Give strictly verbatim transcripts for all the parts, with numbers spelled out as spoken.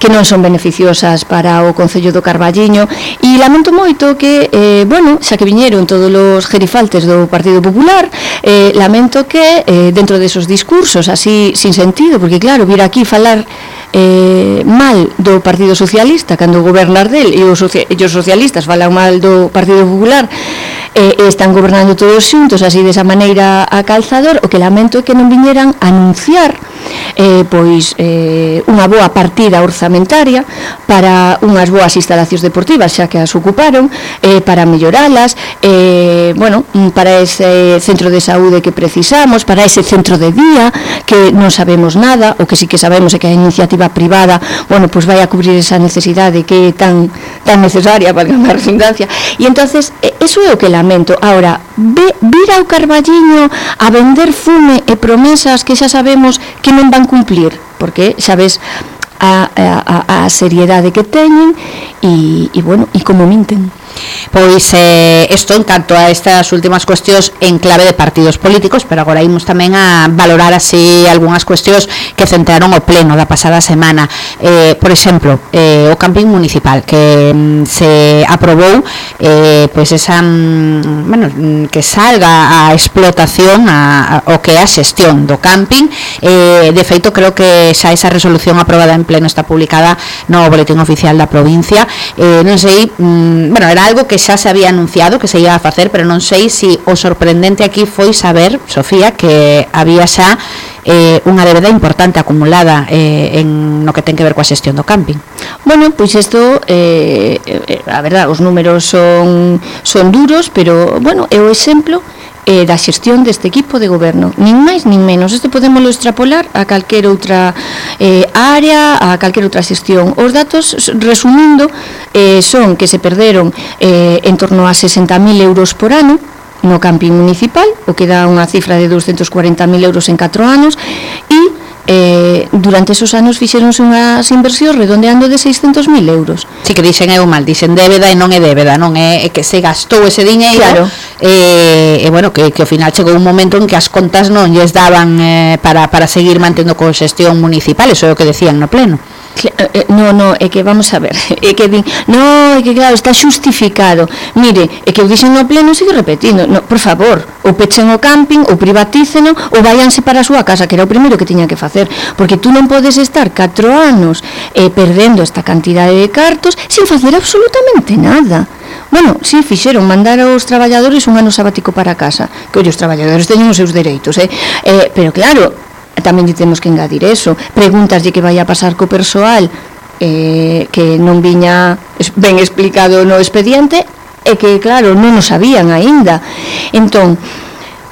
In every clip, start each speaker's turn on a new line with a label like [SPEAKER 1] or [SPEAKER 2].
[SPEAKER 1] que non son beneficiosas para o Concello do Carballiño, e lamento moito que, eh, bueno, xa que viñeron todos os gerifaltes do Partido Popular, eh, lamento que eh, dentro desos discursos así sin sentido, porque claro, vir aquí falar eh, mal do Partido Socialista cando gobernar del, e os, socia- e os socialistas falan mal do Partido Popular, eh, e están gobernando todos xuntos así desa maneira a calzador, o que lamento é que non viñeran a anunciar eh, pois eh, unha boa partida orzamentaria para unhas boas instalacións deportivas, xa que as ocuparon, eh, para melloralas, eh, bueno, para ese centro de saúde que precisamos, para ese centro de día que non sabemos nada, o que sí que sabemos é que a iniciativa privada, bueno, pois vai a cubrir esa necesidade que é tan, tan necesaria, para a redundancia, e entonces eso é o que lamento. Ahora, ve, vir ao Carballiño a vender fume e promesas que xa sabemos que non van cumplir, porque xa ves a, a, a seriedade que teñen e, e bueno, e como minten.
[SPEAKER 2] Pois eh, isto en canto a estas últimas cuestións en clave de partidos políticos, pero agora imos tamén a valorar así algunhas cuestións que centraron o pleno da pasada semana. Eh, por exemplo, eh, o camping municipal que mm, se aprobou eh, pois esa mm, bueno, que salga a explotación a, a, o que é a xestión do camping. Eh, de feito, creo que xa esa resolución aprobada en pleno está publicada no boletín oficial da provincia. Eh, non sei, mm, bueno, era algo que xa se había anunciado que se ia a facer, pero non sei se si o sorprendente aquí foi saber, Sofía, que había xa eh, unha débeda importante acumulada eh, en no que ten que ver coa xestión do camping.
[SPEAKER 1] Bueno, pois isto, eh, eh, a verdad, os números son, son duros, pero, bueno, é o exemplo eh, da xestión deste equipo de goberno, nin máis nin menos. Isto podémoslo extrapolar a calquer outra eh, área, a calquer outra xestión. Os datos, resumindo, eh, son que se perderon eh, en torno a sesenta mil euros por ano no camping municipal, o que dá unha cifra de doscientos cuarenta mil euros en catro anos, e eh, durante esos anos fixeronse unhas inversións redondeando de seiscentos mil euros.
[SPEAKER 2] Si que dixen eu mal, dixen débeda e non é débeda, non é, é que se gastou ese diñeiro,
[SPEAKER 1] claro.
[SPEAKER 2] E, e bueno, que, que ao final chegou un momento en que as contas non lles daban eh, para, para seguir mantendo con xestión municipal, eso é o que decían no pleno.
[SPEAKER 1] No, no, é que vamos a ver, é que din, no, é que claro, está xustificado. Mire, é que eu dixen no pleno, sigo repetindo, no, por favor, ou pechen o camping, ou privatíceno, ou váyanse para a súa casa, que era o primeiro que tiña que facer, porque tú non podes estar catro anos eh, perdendo esta cantidade de cartos sin facer absolutamente nada. Bueno, si sí, fixeron mandar aos traballadores un ano sabático para casa, que oi, os traballadores teñen os seus dereitos, eh? Eh, pero claro, tamén lle temos que engadir eso. Preguntaslle que vai a pasar co persoal eh, que non viña ben explicado no expediente e que, claro, non o sabían aínda. Entón,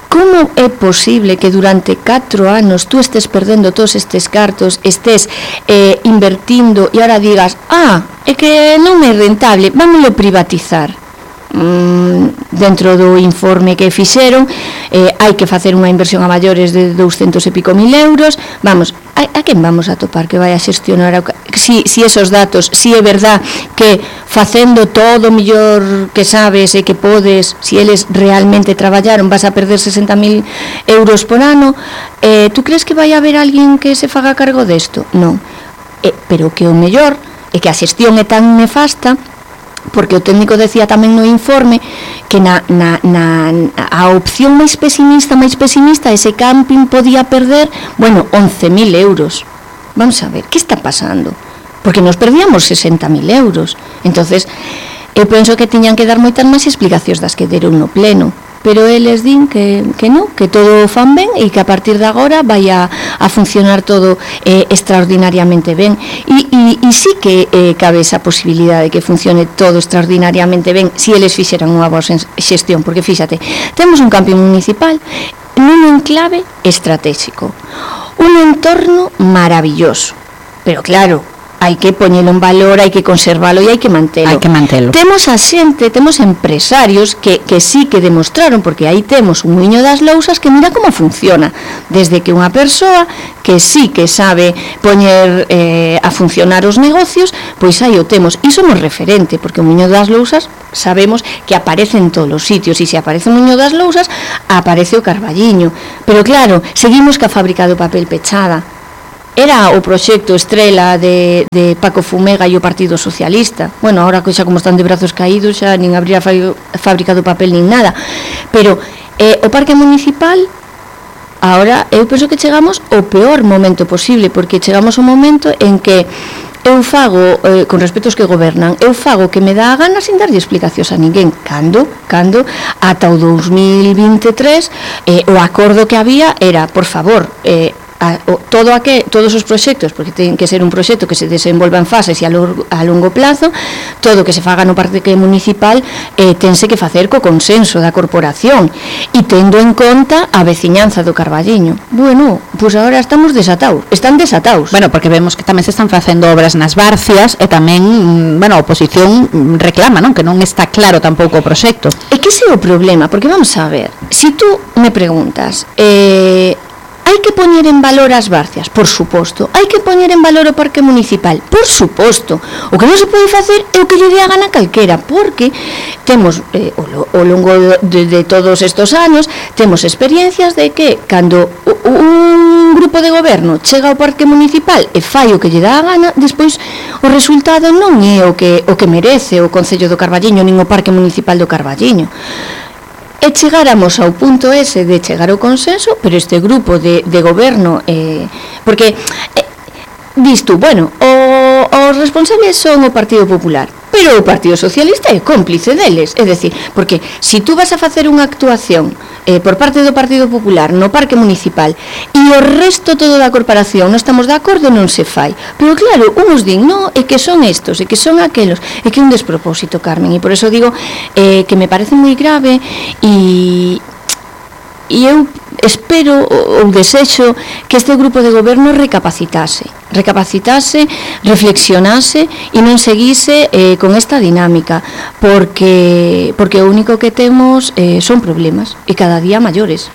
[SPEAKER 1] como é posible que durante catro anos tú estés perdendo todos estes cartos, estés eh, invertindo e ahora digas, ah, é que non é rentable, vámoslo privatizar? Mm, dentro do informe que fixeron eh, hai que facer unha inversión a maiores de douscentos e pico mil euros. Vamos, a, a quen vamos a topar que vai a xestionar a, si, si esos datos, si é verdad que facendo todo o millor que sabes e que podes, si eles realmente traballaron, vas a perder sesenta mil euros por ano, eh, tú crees que vai haber alguén que se faga cargo desto? Non, eh, pero que o mellor é que a xestión é tan nefasta, porque o técnico decía tamén no informe que na, na, na, a opción máis pesimista, máis pesimista, ese camping podía perder, bueno, once mil euros. Vamos a ver, que está pasando? Porque nos perdíamos sesenta mil euros. Entonces, eu penso que tiñan que dar moitas máis explicacións das que deron no pleno, pero eles din que, que non, que todo o fan ben e que a partir de agora vai a, a funcionar todo eh, extraordinariamente ben. E, e, e sí que eh, cabe esa posibilidade de que funcione todo extraordinariamente ben se eles fixeran unha boa xestión, porque fíxate, temos un camping municipal nun enclave estratégico, un entorno maravilloso, pero claro, hai que poñelo en valor, hai que conservalo e hai que mantelo.
[SPEAKER 2] Hai que mantelo.
[SPEAKER 1] Temos a xente, temos empresarios que, que sí que demostraron, porque aí temos un Muiño das Lousas que mira como funciona, desde que unha persoa que sí que sabe poñer eh, a funcionar os negocios, pois aí o temos, e somos referente, porque o Muiño das Lousas sabemos que aparece en todos os sitios, e se aparece o Muiño das Lousas, aparece o Carballiño, pero claro, seguimos ca fábrica do papel pechada. era o proxecto estrela de, de Paco Fumega e o Partido Socialista. Bueno, ahora que xa como están de brazos caídos, xa nin abrir a fábrica do papel nin nada. Pero eh, o parque municipal, ahora eu penso que chegamos ao peor momento posible, porque chegamos ao momento en que eu fago, eh, con respecto aos que gobernan, eu fago que me dá a gana sin darlle explicacións a ninguén. Cando? Cando? Ata o dous mil vinte e tres, eh, o acordo que había era, por favor, eh, A, o, todo aquel, todos os proxectos, porque ten que ser un proxecto que se desenvolva en fases e a, lo, a longo plazo, todo que se faga no parque municipal eh, tense que facer co consenso da corporación e tendo en conta a veciñanza do Carballiño. Bueno, pois pues agora estamos desatados, están desatados.
[SPEAKER 2] Bueno, porque vemos que tamén se están facendo obras nas Barcias e tamén, bueno, a oposición reclama, non? Que non está claro tampouco o proxecto.
[SPEAKER 1] É que ese é o problema, porque vamos a ver, si tú me preguntas, eh, hai que poñer en valor as Barcias, por suposto. Hai que poñer en valor o parque municipal, por suposto. O que non se pode facer é o que lle dé a gana calquera, porque temos, eh, ao longo de, de todos estes anos, temos experiencias de que cando un grupo de goberno chega ao parque municipal e fai o que lle dá a gana, despois o resultado non é o que, o que merece o Concello do Carballiño nin o parque municipal do Carballiño. E chegáramos ao punto ese de chegar ao consenso, pero este grupo de, de goberno, eh, porque eh, dis tú, bueno, o, os responsables son o Partido Popular, pero o Partido Socialista é cómplice deles, é dicir, porque se si tú vas a facer unha actuación eh, por parte do Partido Popular no parque municipal e o resto todo da corporación non estamos de acordo, non se fai. Pero claro, uns din, no, é que son estos, é que son aquelos, é que é un despropósito, Carmen, e por eso digo eh, que me parece moi grave e... e eu espero ou desexo que este grupo de goberno recapacitase recapacitase, reflexionase e non seguise eh, con esta dinámica, porque porque o único que temos eh, son problemas e cada día maiores.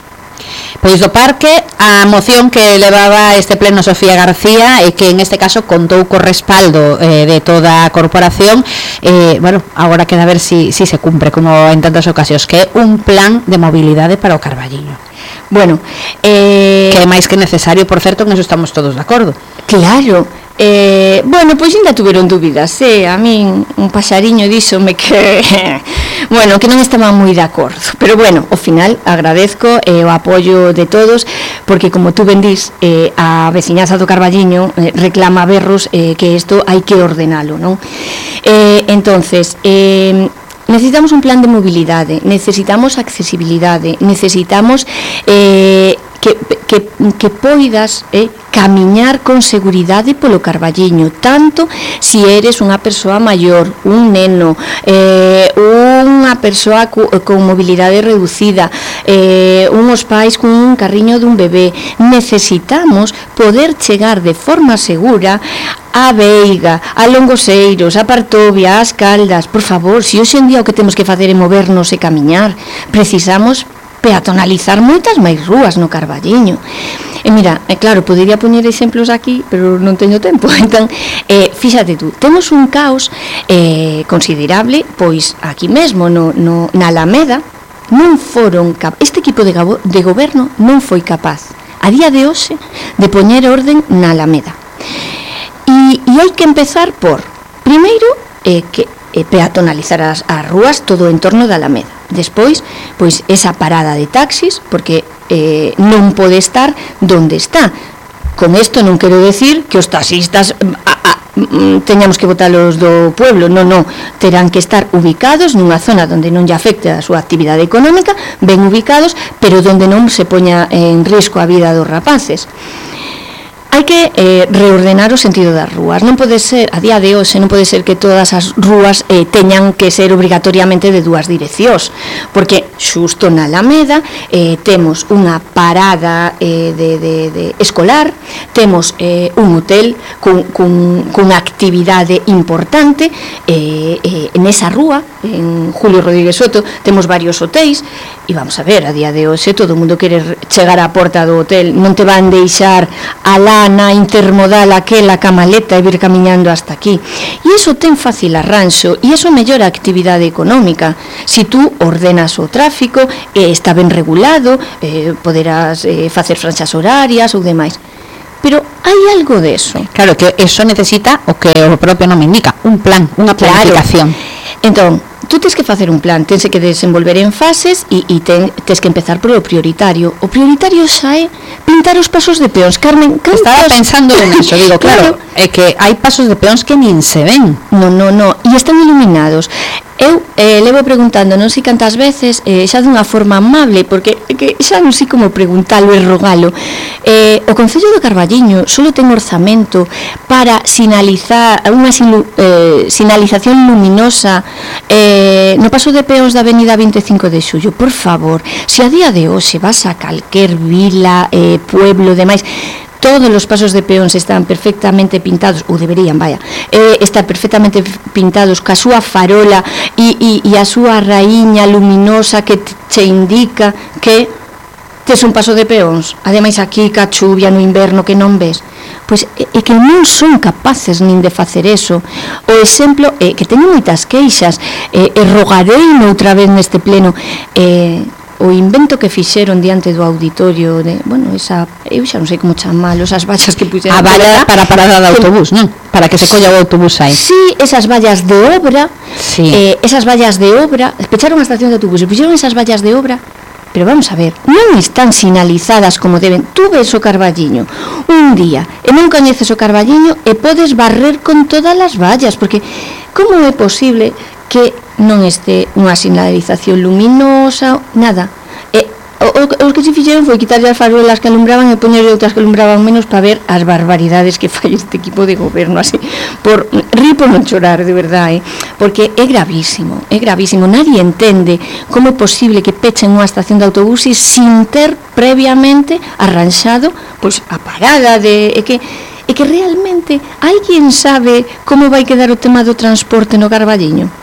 [SPEAKER 2] Pois do parque, a moción que levaba este pleno Sofía García e que en este caso contou co respaldo eh, de toda a corporación, eh, bueno, agora queda ver si, si se cumpre como en tantas ocasións, que é un plan de mobilidade para o Carballiño.
[SPEAKER 1] Bueno, eh...
[SPEAKER 2] que é máis que necesario, por certo, en eso estamos todos de acordo.
[SPEAKER 1] Claro, eh, bueno, pois ainda tuveron dúbidas, eh, a min un paxariño díxome que bueno, que non estaba moi de acordo, pero bueno, ao final agradezco eh, o apoio de todos, porque como tú ben dís, eh, a veciñanza do Carballiño eh, reclama berros eh, que isto hai que ordenalo, non? Eh, entonces, eh, necesitamos un plan de mobilidade, necesitamos accesibilidade, necesitamos eh, que, que, que poidas eh, camiñar con seguridade polo Carballiño, tanto si eres unha persoa maior, un neno, eh, unha persoa cu, con mobilidade reducida, eh, unhos pais con un carriño dun bebé. Necesitamos poder chegar de forma segura a Veiga, a Longoseiros, a Partovia, as Caldas. Por favor, se hoxe en día o que temos que facer é movernos e camiñar, precisamos peatonalizar moitas máis rúas no Carballiño. E mira, é claro, podería poñer exemplos aquí, pero non teño tempo. Entón, eh, fíxate tú, temos un caos eh, considerable, pois aquí mesmo no, no, na Alameda non foron cap- este equipo de, gabo- de goberno non foi capaz a día de hoxe de poñer orden na Alameda. E, e hai que empezar por, primeiro, eh, que eh, peatonalizar as, as rúas todo o entorno da Alameda. Despois, pois esa parada de taxis, porque eh, non pode estar donde está. Con isto non quero decir que os taxistas a, a, teñamos que botalos do pueblo, non, non, terán que estar ubicados nunha zona onde non lle afecte a súa actividade económica, ben ubicados, pero onde non se poña en risco a vida dos rapaces. Hai que eh, reordenar o sentido das rúas. Non pode ser, a día de hoxe, non pode ser que todas as rúas eh, teñan que ser obrigatoriamente de dúas direccións, porque xusto na Alameda eh, temos unha parada eh, de, de, de escolar, temos eh, un hotel cun, cun, cunha actividade importante eh, eh, en esa rúa, en Julio Rodríguez Soto, temos varios hotéis, e vamos a ver, a día de hoxe todo o mundo quere chegar á porta do hotel, non te van deixar alá na intermodal aquela camaleta e vir camiñando hasta aquí. E iso ten fácil arranxo e iso mellora a actividade económica. Si tú ordenas o tráfico, eh, está ben regulado, eh, poderás eh, facer franxas horarias ou demais. pero hai algo de eso.
[SPEAKER 2] Claro, que eso necesita o que o propio nome indica, un plan, unha planificación.
[SPEAKER 1] Claro. Entón, tú tens que facer un plan, tense que desenvolver en fases e, e ten, tens que empezar polo prioritario. O prioritario xa é pintar os pasos de peóns. Carmen, cantas...
[SPEAKER 2] Estaba pensando en eso, digo, claro, claro, é que hai pasos de peóns que nin se ven.
[SPEAKER 1] No, no, no, e están iluminados. Eu eh, levo preguntando non sei cantas veces, eh, xa dunha forma amable, porque que xa non sei como preguntalo e rogalo. Eh, o Concello do Carballiño solo ten orzamento para sinalizar unha silu, eh, sinalización luminosa eh, no paso de peóns da avenida vinte e cinco de xullo. Por favor, se a día de hoxe vas a calquer vila, eh, pueblo, demais, todos os pasos de peóns están perfectamente pintados, ou deberían, vaya, eh, están perfectamente pintados ca súa farola e, e, e a súa raíña luminosa que te, te indica que tes un paso de peóns. Ademais aquí ca chuvia no inverno que non ves, pois é, é que non son capaces nin de facer eso. O exemplo é que teño moitas queixas, eh, e rogarei outra vez neste pleno, eh, o invento que fixeron diante do auditorio de, bueno, esa, eu xa non sei como chamalo, esas vallas que puxeron
[SPEAKER 2] a valla para a parada de autobús, non? Para que se colla o autobús aí.
[SPEAKER 1] Sí, esas vallas de obra,
[SPEAKER 2] sí.
[SPEAKER 1] eh, esas vallas de obra, pecharon a estación de autobús e puxeron esas vallas de obra, pero vamos a ver, non están sinalizadas como deben. Tú ves o Carballiño un día e non coñeces o Carballiño e podes barrer con todas as vallas, porque como é posible que non este unha sinalización luminosa, nada. E o, o, os que se fixeron foi quitarlle as farolas que alumbraban e poñerlle outras que alumbraban menos para ver as barbaridades que fai este equipo de goberno, así, por rir por non chorar, de verdade, eh? Porque é gravísimo, é gravísimo. Nadie entende como é posible que pechen unha estación de autobuses sin ter previamente arranxado pois a parada de... É que é que realmente alguén sabe como vai quedar o tema do transporte no Carballiño?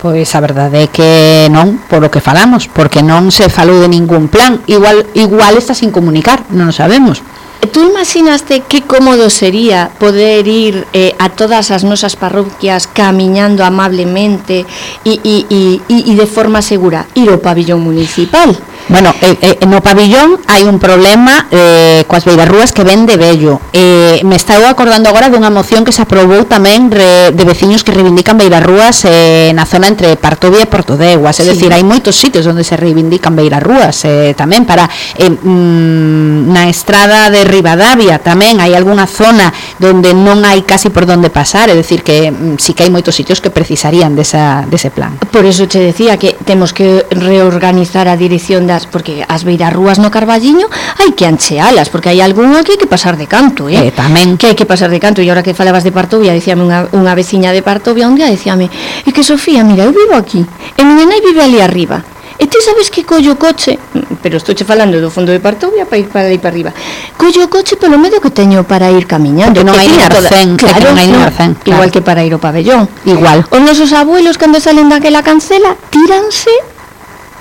[SPEAKER 2] Pois a verdade é que non, por o que falamos, porque non se falou de ningún plan. Igual igual está sin comunicar, non o sabemos.
[SPEAKER 1] Tú imaginaste que cómodo sería poder ir eh, a todas as nosas parroquias camiñando amablemente e, e, e, e de forma segura, ir ao pabillón municipal?
[SPEAKER 2] Bueno, eh, eh, no pabillón hai un problema eh, coas beirarrúas que ven de vello. Eh, me estou acordando agora dunha moción que se aprobou tamén re, de veciños que reivindican beirarrúas eh, na zona entre Partovia e Portodeguas. É sí. Dicir, hai moitos sitios onde se reivindican beirarrúas eh, tamén para eh, mm, na estrada de Ribadavia tamén hai algunha zona onde non hai casi por onde pasar, é dicir que mm, sí que hai moitos sitios que precisarían desa, dese plan.
[SPEAKER 1] Por eso te decía que temos que reorganizar a dirección das, porque as beirarrúas no Carballiño hai que anchealas, porque hai algunha que hai que pasar de canto, eh?
[SPEAKER 2] eh tamén
[SPEAKER 1] que hai que pasar de canto. E agora que falabas de Partovia, dicíame unha, unha veciña de Partovia un día, dicíame, e que Sofía, mira, eu vivo aquí e miña nai vive ali arriba, e ti sabes que collo coche, pero estou che falando do fondo de Partovia para ir para aí para arriba, collo coche polo medio que teño para ir camiñando,
[SPEAKER 2] porque non hai arcén,
[SPEAKER 1] claro,
[SPEAKER 2] non hai
[SPEAKER 1] no,
[SPEAKER 2] arcén, claro.
[SPEAKER 1] Igual que para ir ao pabellón,
[SPEAKER 2] igual.
[SPEAKER 1] Os nosos abuelos cando salen daquela cancela tíranse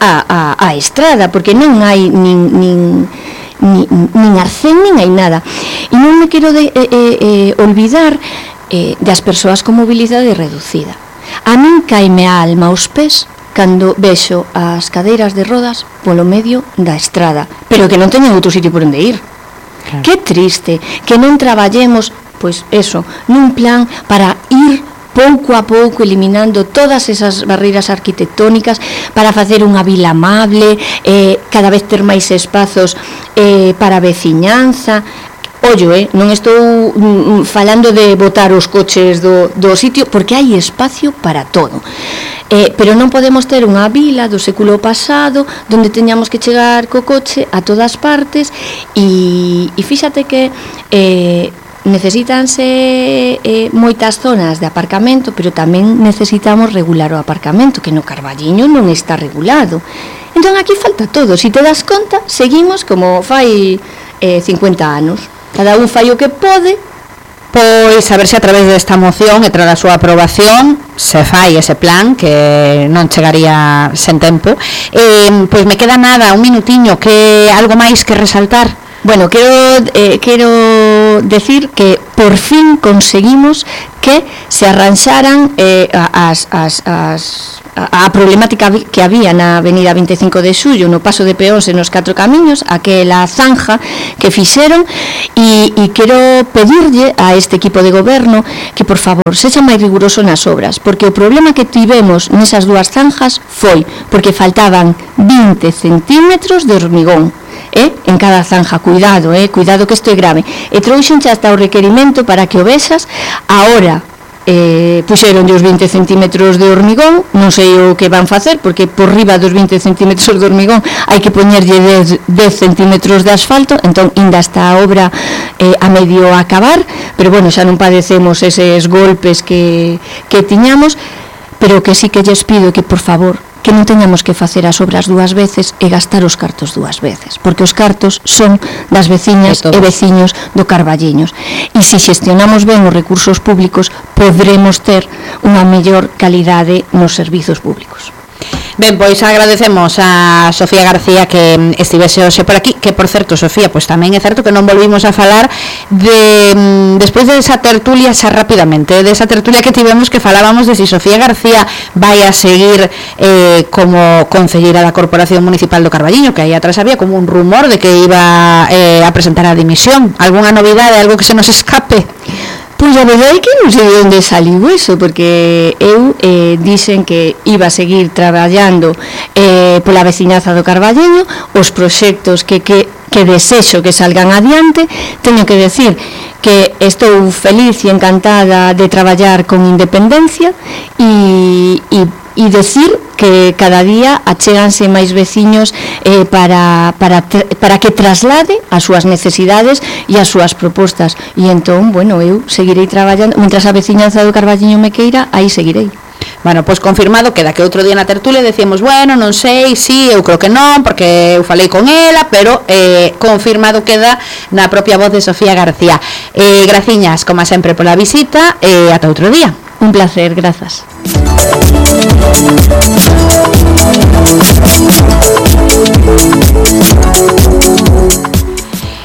[SPEAKER 1] a, a, a estrada, porque non hai nin, nin, nin, nin arcén, nin hai nada. E non me quero de, eh, eh, olvidar eh, das persoas con mobilidade reducida. A min caime a alma aos pés cando vexo as cadeiras de rodas polo medio da estrada, pero que non teñen outro sitio por onde ir. Claro. Que triste que non traballemos, pois eso, nun plan para ir pouco a pouco eliminando todas esas barreiras arquitectónicas para facer unha vila amable, eh, cada vez ter máis espazos eh, para a veciñanza. Ollo, eh, non estou mm, falando de botar os coches do, do sitio, porque hai espacio para todo. Eh, pero non podemos ter unha vila do século pasado donde teñamos que chegar co coche a todas partes e, e fíxate que eh, necesítanse eh, moitas zonas de aparcamento, pero tamén necesitamos regular o aparcamento, que no Carballiño non está regulado. Entón aquí falta todo. Si te das conta, seguimos como fai eh, cincuenta anos. Cada un fai o que pode.
[SPEAKER 2] Pois a ver se a través desta moción e tras a súa aprobación se fai ese plan, que non chegaría sen tempo. Eh, pois me queda nada, un minutiño, que algo máis que resaltar.
[SPEAKER 1] Bueno, quero, eh, quero decir que por fin conseguimos que se arranxaran eh, as, as, as, a, a problemática que había na avenida vinte e cinco de xullo, no paso de peóns e nos catro camiños, aquela zanja que fixeron, e, e quero pedirlle a este equipo de goberno que por favor sexa máis riguroso nas obras, porque o problema que tivemos nesas dúas zanjas foi porque faltaban vinte centímetros de hormigón, eh, en cada zanja. Cuidado, eh, cuidado que isto é grave. E trouxenche hasta o requerimento para que o vexas. Ahora eh, puxeron os vinte centímetros de hormigón, non sei o que van facer, porque por riba dos vinte centímetros de hormigón hai que poñerlle dez centímetros de asfalto, entón ainda está a obra eh, a medio acabar, pero bueno, xa non padecemos eses golpes que, que tiñamos, pero que sí que lles pido que por favor que non teñamos que facer as obras dúas veces e gastar os cartos dúas veces, porque os cartos son das veciñas e veciños do Carballiños, e se xestionamos ben os recursos públicos podremos ter unha mellor calidade nos servizos públicos.
[SPEAKER 2] Ben, pois agradecemos a Sofía García que estivese hoxe por aquí, que por certo, Sofía, pois tamén é certo que non volvimos a falar de despois de esa tertulia xa rapidamente, de esa tertulia que tivemos que falábamos de si Sofía García vai a seguir eh, como concelleira da Corporación Municipal do Carballiño, que aí atrás había como un rumor de que iba eh, a presentar a dimisión. Algúnha novidade, algo que se nos escape?
[SPEAKER 1] Pois a verdade é que non sei de onde saliu eso, porque eu eh, dixen que iba a seguir traballando eh, pola veciñaza do Carballiño, os proxectos que, que, que desexo que salgan adiante. Teño que decir que estou feliz e encantada de traballar con independencia e, e, e decir que cada día achéganse máis veciños eh, para, para, para que traslade as súas necesidades e as súas propostas, e entón, bueno, eu seguirei traballando mentras a veciñanza do Carballiño me queira, aí seguirei.
[SPEAKER 2] Bueno, pois confirmado, queda que outro día na tertulia decíamos, bueno, non sei, sí, eu creo que non, porque eu falei con ela, pero eh, confirmado queda na propia voz de Sofía García. Eh, graciñas, como sempre, pola visita, e eh, ata outro día.
[SPEAKER 1] Un placer, grazas.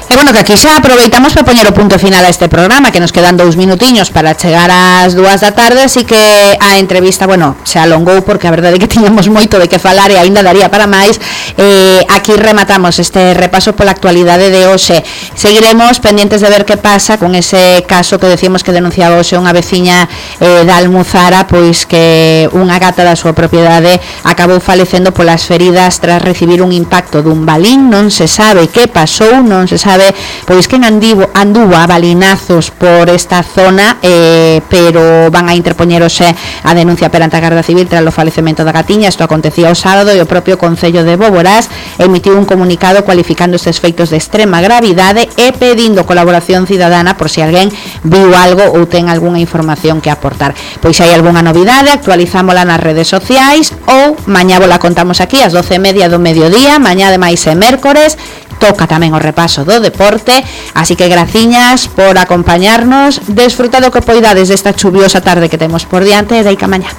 [SPEAKER 2] E bueno, que aquí xa aproveitamos para poñer o punto final a este programa, que nos quedan dous minutiños para chegar ás dúas da tarde, así que a entrevista, bueno, se alongou porque a verdade é que tiñamos moito de que falar e aínda daría para máis. Eh, aquí rematamos este repaso pola actualidade de hoxe. Seguiremos pendientes de ver que pasa con ese caso que decíamos que denunciaba hoxe unha veciña eh, da Almuzara, pois que unha gata da súa propiedade acabou falecendo polas feridas tras recibir un impacto dun balín. Non se sabe que pasou, non se sabe pois que andivo, anduvo a balinazos por esta zona, eh, pero van a interpoñer hoxe a denuncia perante a Garda Civil tras o falecemento da gatiña. Isto acontecía o sábado e o propio Concello de Boborás emitiu un comunicado cualificando estes feitos de extrema gravidade e pedindo colaboración cidadana por se alguén viu algo ou ten algunha información que aportar. Pois se hai algunha novidade, actualizámola nas redes sociais ou mañá vola contamos aquí ás doce e media do mediodía. Mañá ademais é mércores, toca tamén o repaso do deporte, así que graciñas por acompañarnos. Desfruta do que poidades desta chuviosa tarde que temos por diante e deica mañá.